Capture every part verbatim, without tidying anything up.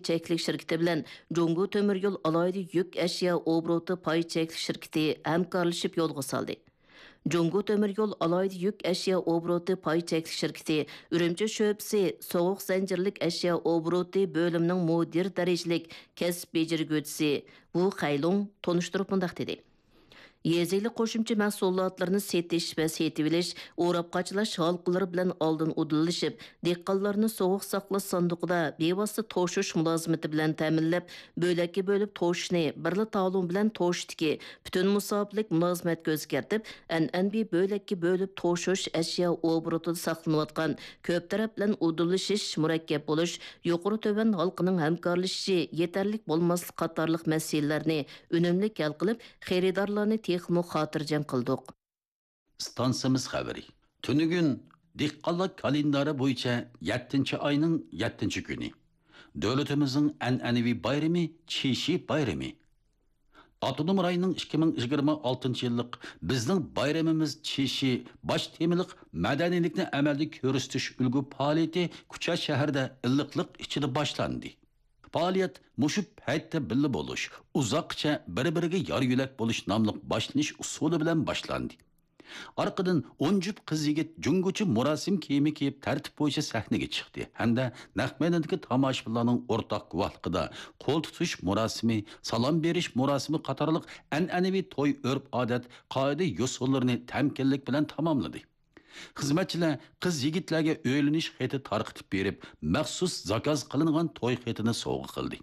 چەكلىك شىركىتى بىلەن جۇڭگو تۆمۈر يول ئالاھىدە يۈك ئەشيا ئوبوروتى پاي چەكلىك شىركىتى ھەمكارلىشىپ يولغا سالدى. جۇڭگو تۆمۈر يول ئالاھىدە يۈك ئەشيا ئوبوروتى پاي چەكلىك شىركىتى ئۈرۈمچى شۆبىسى سوغۇق زەنجىرلىك ئەشيا ئوبوروتى بۆلۈمىنىڭ مۇدىر دەرىجىلىك كەسىپ بېجىرگۈچىسى ۋۇ خەيلۇڭ تونۇشتۇرۇپ مۇنداق دېدى: يېزا ئىگىلىك قوشۇمچە مەھسۇلاتلىرىنى سېتىش ۋە سېتىۋېلىش، ئوراپ قاچىلاش ھالقىلىرى بىلەن ئالدىن ئۇدۇللىشىپ، دېھقانلارنى سوغۇق ساقلاش ساندۇقىدا بىۋاسىتە توشۇش مۇلازىمىتى بىلەن تەمىنلەپ، بۆلەككە بۆلۈپ توشۇشنى بىرلا تالون بىلەن توشۇشتىكى پۈتۈن مۇساپىلىك مۇلازىمەتكە ئۆزگەرتىپ، ئەنئەنىۋى بۆلەككە بۆلۈپ توشۇش ئەشيا ئوبوروتىدا ساقلىنىۋاتقان كۆپ تەرەپ بىلەن ئۇدۇللىشىش، مۇرەككەپ بولۇش، يۇقىرى تۆۋەن ھالقىنىڭ ھەمكارلىشىشى يېتەرلىك بولماسلىق قاتارلىق مەسىلىلەرنى ئۈنۈملۈك ھەل قىلىپ، خېرىدارلارنى تېخىمۇ خاتىرجەم قىلدۇق. ئىستانسىمىز خەۋىرى. تۈنۈگۈن دېھقانلار كالېندارى بويىچە يەتتىنچى ئاينىڭ يەتتىنچى كۈنى. دۆلىتىمىزنىڭ ئەنئەنىۋى بايرىمى، چىشى بايرىمى. ئاپتونوم رايوننىڭ ئىككى مىڭ يىگىرمە ئالتىنچى يىللىق بىزنىڭ بايرىمىمىز چىشى باش تېمىلىق مەدەنىيلىكنى ئەمەلدە كۆرسىتىش ئۈلگە پائالىيىتى كۇچا شەھىرىدە ئىللىقلىق ئىچىدە باشلاندى. پائالىيەت مۇشۇ پەيتتە بىللە بولۇش، ئۇزاققىچە بىر-بىرىگە يار-يۆلەك بولۇش ناملىق باشلىنىش ئۇسۇلى بىلەن باشلاندى. ئارقىدىن ئون جۈپ قىز-يىگىت جۇڭگوچە مۇراسىم كىيىمى كىيىپ تەرتىپ بويىچە سەھنىگە چىقتى ھەمدە نەق مەيداندىكى تاماشىبىنلارنىڭ ئورتاق گۇۋاھلىقىدا قول تۇتۇش مۇراسىمى، سالام بېرىش مۇراسىمى قاتارلىق ئەنئەنىۋى توي ئۆرپ-ئادەت، قائىدە-يوسۇنلىرىنى تەمكىنلىك بىلەن تاماملىدى. خىزمەتچىلەر قىز-يىگىتلەرگە ئۆيلىنىش خېتى تارقىتىپ بېرىپ، مەخسۇس زاكاز قىلىنغان توي خېتىنى سوۋغا قىلدى.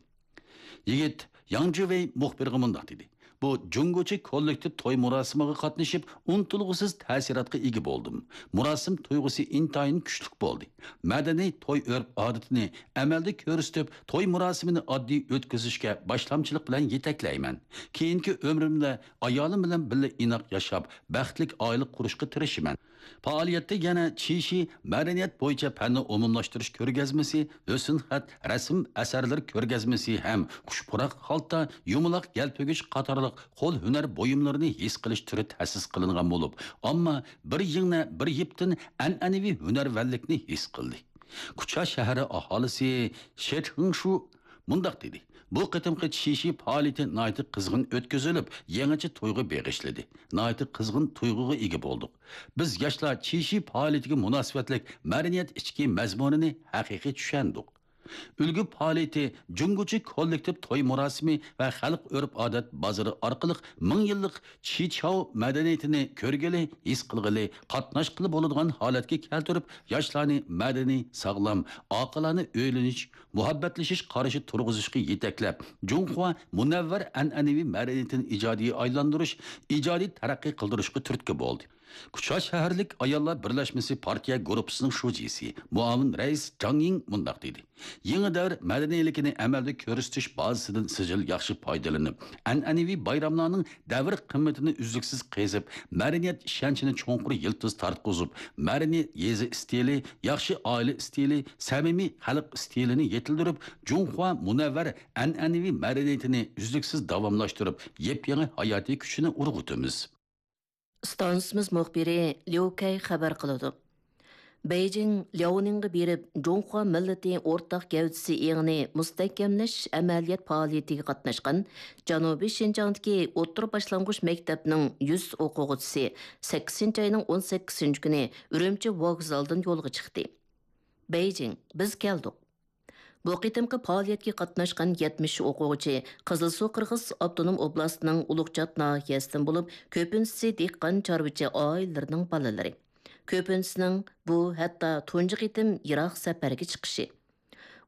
يىگىت ياڭ جۈۋېي مۇخبىرغا مۇنداق دېدى: بۇ جۇڭگوچە كوللېكتىپ توي مۇراسىمىغا قاتنىشىپ، ئۇنتۇلغۇسىز تەسىراتقا ئىگە بولدۇم. مۇراسىم تۇيغۇسى ئىنتايىن كۈچلۈك بولدى. مەدەنىي توي ئۆرپ-ئادىتىنى ئەمەلدە كۆرسىتىپ، توي مۇراسىمىنى ئاددىي ئۆتكۈزۈشكە باشلامچىلىق بىلەن يېتەكلەيمەن. كېيىنكى ئۆمرۈمدە ئايالىم بىلەن بىللە ئىناق ياشاپ، بەختلىك ئائىلە قۇرۇشقا تىرىشىمەن. پائالىيەتتە يەنە چىشى مەدەنىيەت بويىچە پەننى ئومۇملاشتۇرۇش كۆرگەزمىسى، ھۆسن خەت، رەسىم ئەسەرلىرى كۆرگەزمىسى ھەم قۇش پۇراق خالتا، يۇمىلاق يەلپۈگۈش قاتارلىق قول ھۈنەر بۇيۇملىرىنى ھېس قىلىش تۈرى تەسىس قىلىنغان بولۇپ، ئامما بىر يىڭنە، بىر يىپتىن ئەنئەنىۋى ھۈنەرۋەنلىكنى ھېس قىلدى. كۇچا شەھىرى ئاھالىسى شېت خېڭشۇ مۇنداق دېدى: بۇ قېتىمقى چىشى پائالىيىتى ناھايىتى قىزغىن ئۆتكۈزۈلۈپ، يېڭىچە تۇيغۇ بېغىشلىدى. ناھايىتى قىزغىن تۇيغۇغا ئىگە بولدۇق. بىز ياشلار چىشى پائالىيىتىگە مۇناسىۋەتلىك مەدەنىيەت ئىچكى مەزمۇنىنى ھەقىقىي چۈشەندۇق. ئۈلگە پائالىيىتى جۇڭگوچە كوللېكتىپ توي مۇراسىمى ۋە خەلق ئۆرپ-ئادەت بازىرى ئارقىلىق مىڭ يىللىق چىچاۋ مەدەنىيىتىنى كۆرگىلى، ھېس قىلغىلى، قاتناشقىلى بولىدىغان ھالەتكە كەلتۈرۈپ، ياشلارنى مەدەنىي، ساغلام، ئاقىلانە ئۆيلىنىش، مۇھەببەتلىشىش قارىشى تۇرغۇزۇشقا يېتەكلەپ، جۇڭخۇا مۇنەۋۋەر ئەنئەنىۋى مەدەنىيىتىنى ئىجادىي ئايلاندۇرۇش، ئىجادىي تەرەققىي قىلدۇرۇشقا تۈرتكە بولدى. كۇچا شەھەرلىك ئاياللار بىرلەشمىسى پارتىيە گۇرۇپپىسىنىڭ شۇجىسى، مۇئاۋىن رەئىس جاڭ يىڭ مۇنداق دېدى: يېڭى دەۋر مەدەنىيلىكىنى ئەمەلدە كۆرسىتىش بازىسىدىن سىجىل ياخشى پايدىلىنىپ، ئەنئەنىۋى بايراملارنىڭ دەۋر قىممىتىنى ئۈزلۈكسىز قېزىپ، مەدەنىيەت ئىشەنچىنى چوڭقۇر يىلتىز تارتقۇزۇپ، مەدەنىي يېزا ئىستىلى، ياخشى ئائىلە ئىستىلى، سەمىمىي خەلق ئىستىلىنى يېتىلدۈرۈپ، جۇڭخۇا مۇنەۋۋەر ئەنئەنىۋى مەدەنىيىتىنى ئۈزلۈكسىز داۋاملاشتۇرۇپ، يېپيېڭى ھاياتىي كۈچىنى ئۇرغۇتىمىز. ئىستانسىمىز مۇخبىرى ليۇ كەي خەۋەر قىلىدۇ. بېيجىڭ لياۋنىڭغا بېرىپ، جۇڭخۇا مىللىتى ئورتاق گەۋدىسى ئېڭىنى مۇستەھكەملەش ئەمەلىيەت پائالىيىتىگە قاتناشقان جەنۇبىي شىنجاڭدىكى ئوتتۇرا باشلانغۇچ مەكتەپنىڭ يۈز ئوقۇغۇچىسى سەككىزىنچى ئاينىڭ ئون سەككىزىنچى كۈنى ئۈرۈمچى ۋوگزالدىن يولغا چىقتى. بېيجىڭ، بىز كەلدۇق. بۇ قېتىمقى پائالىيەتكە قاتناشقان يەتمىش ئوقۇغۇچى قىزىلسۇ قىرغىز ئاپتونوم ئوبلاستىنىڭ ئۇلۇغچات ناھىيەسىدىن بولۇپ، كۆپىنچىسى دېھقان چارۋىچى ئائىلىلىرىنىڭ بالىلىرى. كۆپىنچىسىنىڭ بۇ ھەتتا تۇنجى قېتىم يىراق سەپەرگە چىقىشى.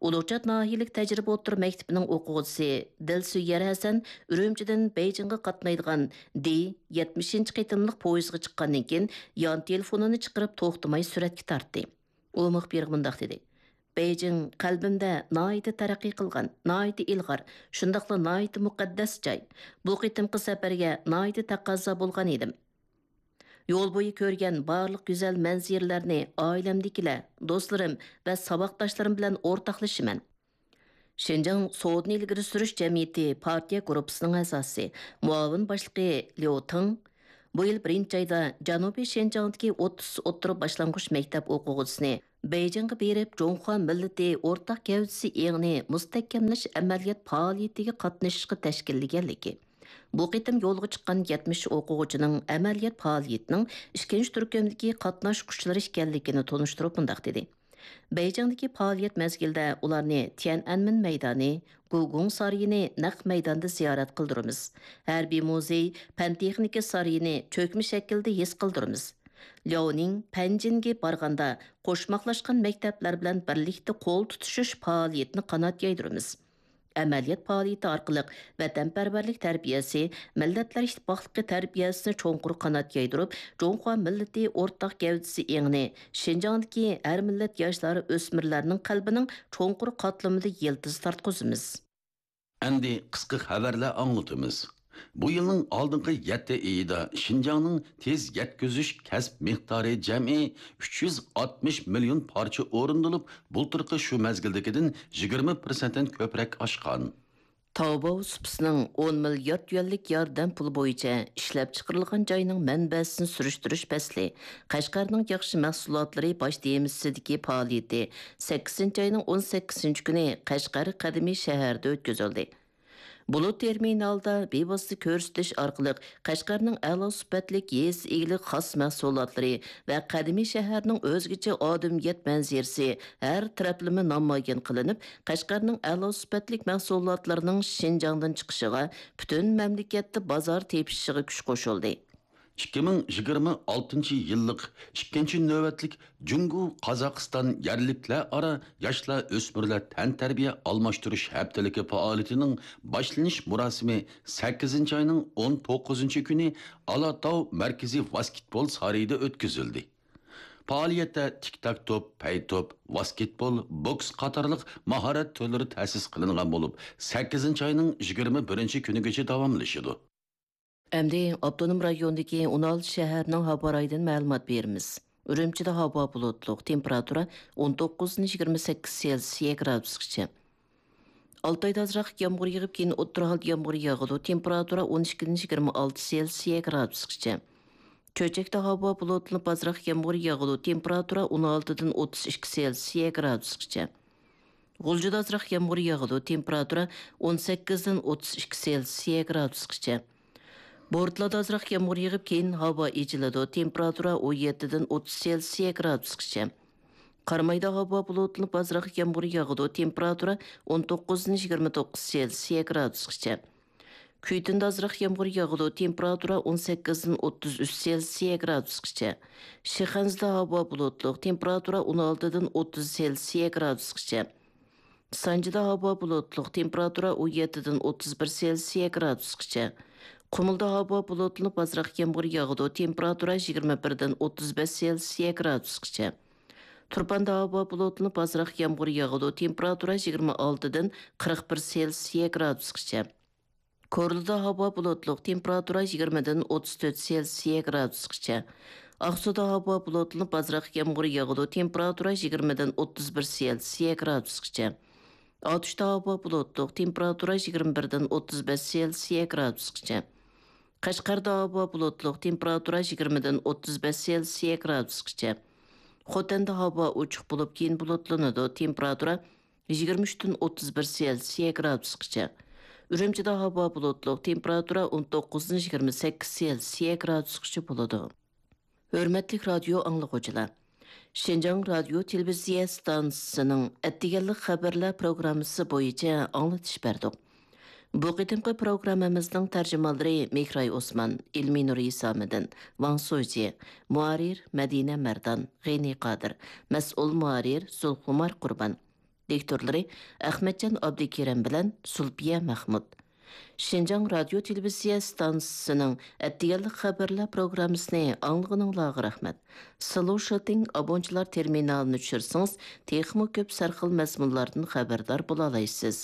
ئۇلۇغچات ناھىيەلىك تەجرىبە ئوتتۇرا مەكتىپىنىڭ ئوقۇغۇچىسى دىلسۆيەر ھەسەن ئۈرۈمچىدىن بېيجىڭغا قاتنايدىغان دى يەتمىشىنچى قېتىملىق پويىزغا چىققاندىن كېيىن، يان تېلېفونىنى چىقىرىپ توختىماي سۈرەتكە تارتتى. ئۇ مۇخبىرغا مۇنداق دېدى: بېيجىڭ قەلبىمدە ناھايىتى تەرەققىي قىلغان، ناھايىتى ئىلغار، شۇنداقلا ناھايىتى مۇقەددەس جاي. بۇ قېتىمقى سەپەرگە ناھايىتى تەقەززا بولغان ئىدىم. يول بويى كۆرگەن بارلىق گۈزەل مەنزىرىلەرنى ئائىلەمدىكىلەر، دوستلىرىم ۋە ساۋاقداشلىرىم بىلەن ئورتاقلىشىمەن. شىنجاڭ سودىنى ئىلگىرى سۈرۈش جەمئىيىتى پارتىيە گۇرۇپپىسىنىڭ ئەزاسى، مۇئاۋىن باشلىقى ليۇ تېڭ بۇ يىل بىرىنچى ئايدا جەنۇبىي شىنجاڭدىكى ئوتتۇز ئوتتۇرا باشلانغۇچ مەكتەپ ئوقۇغۇچىسىنى بېيجىڭغا بېرىپ، جۇڭخۇا مىللىتى ئورتاق گەۋدىسى ئېڭىنى مۇستەھكەملەش ئەمەلىيەت پائالىيىتىگە قاتنىشىشقا تەشكىللىگەنلىكى، بۇ قېتىم يولغا چىققان يەتمىش ئوقۇغۇچىنىڭ ئەمەلىيەت پائالىيىتىنىڭ ئىككىنچى تۈركۈمدىكى قاتناشقۇچىلىرى ئىكەنلىكىنى تونۇشتۇرۇپ مۇنداق دېدى: بېيجىڭدىكى پائالىيەت مەزگىلىدە ئۇلارنى تيەنئەنمېن مەيدانى، گۇگۇڭ سارىيىنى نەق مەيداندا زىيارەت قىلدۇرىمىز. ھەربىي مۇزېي، پەن-تېخنىكا سارىيىنى چۆكمە شەكىلدە ھېس قىلدۇرىمىز. لياۋنىڭ، پەنجىنگە بارغاندا قوشماقلاشقان مەكتەپلەر بىلەن بىرلىكتە قول تۇتۇشۇش پائالىيىتىنى قانات يايدۇرىمىز. ئەمەلىيەت پائالىيىتى ئارقىلىق ۋەتەنپەرۋەرلىك تەربىيەسى، مىللەتلەر ئىتتىپاقلىقى تەربىيەسىنى چوڭقۇر قانات يايدۇرۇپ، جۇڭخۇا مىللىتى ئورتاق گەۋدىسى ئېڭىنى شىنجاڭدىكى ھەر مىللەت ياشلار، ئۆسمۈرلەرنىڭ قەلبىنىڭ چوڭقۇر قاتلىمىدا يىلتىز تارتقۇزىمىز. ئەمدى قىسقا خەۋەرلەر ئاڭلىتىمىز. بۇ يىلنىڭ ئالدىنقى يەتتە ئېيىدا شىنجاڭنىڭ تېز يەتكۈزۈش كەسپ مىقدارى جەمئىي ئۈچ يۈز ئاتمىش مىليون پارچە ئورۇندىلىپ، بۇلتۇرقى شۇ مەزگىلدىكىدىن يىگىرمە پىرسەنتتىن كۆپرەك ئاشقان. تاۋباۋ سۇپىسىنىڭ ئون مىليارد يۈەنلىك ياردەم پۇلى بويىچە ئىشلەپچىقىرىلغان جاينىڭ مەنبەسىنى سۈرۈشتۈرۈش پەسلى، قەشقەرنىڭ ياخشى مەھسۇلاتلىرى باش تېمىسىدىكى پائالىيىتى سەككىزىنچى ئاينىڭ ئون سەككىزىنچى كۈنى قەشقەر قەدىمىي شەھەردە ئۆتكۈزۈلدى. بۇلۇت تېرمىنالىدا بىۋاسىتە كۆرسىتىش ئارقىلىق قەشقەرنىڭ ئەلا سۈپەتلىك يېزا ئىگىلىك خاس مەھسۇلاتلىرى ۋە قەدىمىي شەھەرنىڭ ئۆزگىچە ئادىمىيەت مەنزىرىسى ھەر تەرەپلىمە نامايان قىلىنىپ، قەشقەرنىڭ ئەلا سۈپەتلىك مەھسۇلاتلىرىنىڭ شىنجاڭدىن چىقىشىغا، پۈتۈن مەملىكەتتە بازار تېپىشىغا كۈچ قوشۇلدى. ئىككى مىڭ يىگىرمە ئالتىنچى يىللىق ئىككىنچى نۆۋەتلىك جۇڭگو، قازاقىستان يەرلىكلەر ئارا ياشلار، ئۆسمۈرلەر تەنتەربىيە ئالماشتۇرۇش ھەپتىلىكى پائالىيىتىنىڭ باشلىنىش مۇراسىمى سەككىزىنچى ئاينىڭ ئون توققۇزىنچى كۈنى ئالاتاۋ مەركىزىي ۋاسكېتبول سارىيىدا ئۆتكۈزۈلدى. پائالىيەتتە تىك تاك توپ، پەي توپ، ۋاسكېتبول، بوكس قاتارلىق ماھارەت تۈرلىرى تەسىس قىلىنغان بولۇپ، سەككىزىنچى ئاينىڭ يىگىرمە بىرىنچى كۈنىگىچە داۋاملىشىدۇ. ئەمدى ئاپتونوم رايوندىكى ئون ئالتە شەھەرنىڭ ھاۋا رايىدىن مەلۇمات بېرىمىز. ئۈرۈمچىدە ھاۋا بۇلۇتلۇق، تېمپېراتۇرا ئون توققۇزدىن يىگىرمە سەككىز سېلسىيە گرادۇسقىچە. ئالتايدا ئازراق يامغۇر يېغىپ، كېيىن ئوتتۇرا ھالدا يامغۇر ياغىدۇ، تېمپېراتۇرا ئون ئىككىدىن يىگىرمە ئالتە سېلسىيە گرادۇسقىچە. چۆچەكتە ھاۋا بۇلۇتلىنىپ، ئازراق يامغۇر ياغىدۇ، تېمپېراتۇرا ئون ئالتىدىن ئوتتۇز ئىككى سېلسىيە گرادۇسقىچە. غۇلجىدا ئازراق يامغۇر ياغىدۇ، تېمپېراتۇرا ئون سەككىزدىن ئوتتۇز ئىككى سېلسىيە گرادۇسقىچە. بورتالادا ئازراق يامغۇر يېغىپ، كېيىن ھاۋا ئېچىلىدۇ، تېمپېراتۇرا ئون يەتتىدىن ئوتتۇز سېلسىيە گرادۇسقىچە. قارامايدا ھاۋا بۇلۇتلىنىپ، ئازراق يامغۇر ياغىدۇ، تېمپېراتۇرا ئون توققۇزدىن يىگىرمە توققۇز سېلسىيە گرادۇسقىچە. كۈيتۈندە ئازراق يامغۇر ياغىدۇ، تېمپېراتۇرا ئون سەككىزدىن ئوتتۇز ئۈچ سېلسىيە گرادۇسقىچە. شىخەنزىدە ھاۋا بۇلۇتلۇق، تېمپېراتۇرا ئون ئالتىدىن ئوتتۇز سېلسىيە گرادۇسقىچە. سانجىدا ھاۋا بۇلۇتلۇق، تېمپېراتۇرا ئون يەتتىدىن ئوتتۇز بىر سېلسىيە گرادۇسقىچە. قۇمۇلدا ھاۋا بۇلۇتلىنىپ، ئازراق يامغۇر ياغىدۇ، تېمپېراتۇرا يىگىرمە بىردىن ئوتتۇز بەش سېلسىيە گرادۇسقىچە. تۇرپاندا ھاۋا بۇلۇتلىنىپ، ئازراق يامغۇر ياغىدۇ، تېمپېراتۇرا يىگىرمە ئالتىدىن قىرىق بىر سېلسىيە گرادۇسقىچە. كورلىدا ھاۋا بۇلۇتلۇق، تېمپېراتۇرا يىگىرمىدىن ئوتتۇز تۆت سېلسىيە گرادۇسقىچە. ئاقسۇدا ھاۋا بۇلۇتلىنىپ، ئازراق يامغۇر ياغىدۇ، تېمپېراتۇرا يىگىرمىدىن ئوتتۇز بىر سېلسىيە گرادۇسقىچە. ئاتۇشتا ھاۋا بۇلۇتلۇق، تېمپېراتۇرا يىگىرمە بىردىن ئوتتۇز بەش سېلسىيە گرادۇسقىچە. قەشقەردە ھاۋا بۇلۇتلۇق، تېمپېراتۇرا يىگىرمىدىن ئوتتۇز بەش سېلسىيە گرادۇسقىچە. خوتەندە ھاۋا ئوچۇق بولۇپ، كېيىن بۇلۇتلىنىدۇ، تېمپېراتۇرا يىگىرمە ئۈچتىن ئوتتۇز بىر سېلسىيە گرادۇسقىچە. ئۈرۈمچىدە ھاۋا بۇلۇتلۇق، تېمپېراتۇرا ئون توققۇزدىن يىگىرمە سەككىز سېلسىيە گرادۇسقىچە بولىدۇ. ھۆرمەتلىك رادىيو ئاڭلىغۇچىلار! شىنجاڭ رادىيو تېلېۋىزىيە ئىستانسىسىنىڭ ئەتىگەنلىك خەۋەرلەر پروگراممىسى بويىچە ئاڭلىتىش بەردۇق. بۇ قېتىمقى پروگراممىمىزنىڭ تەرجىمانلىرى مېھراي ئوسمان، ئىلمىنۇر ھېسامىدىن، ۋاڭ سۇجى، مۇھەررىر مەدىنە مەردان، غېنى قادىر، مەسئۇل مۇھەررىر زۇلخۇمار قۇربان. دىكتورلىرى ئەخمەتجان ئابدۇكېرىم بىلەن زۇلپىيە مەخمۇت. شىنجاڭ رادىيو تېلېۋىزىيە ئىستانسىسىنىڭ ئەتىگەنلىك خەۋەرلەر پروگراممىسىنى ئاڭلىغىنىڭلارغا رەھمەت. سلوشىتىڭ ئابونچىلار تېرمىنالىنى چۈشۈرسىڭىز، تېخىمۇ كۆپ سەرخىل مەزمۇنلاردىن خەۋەردار بولالايسىز.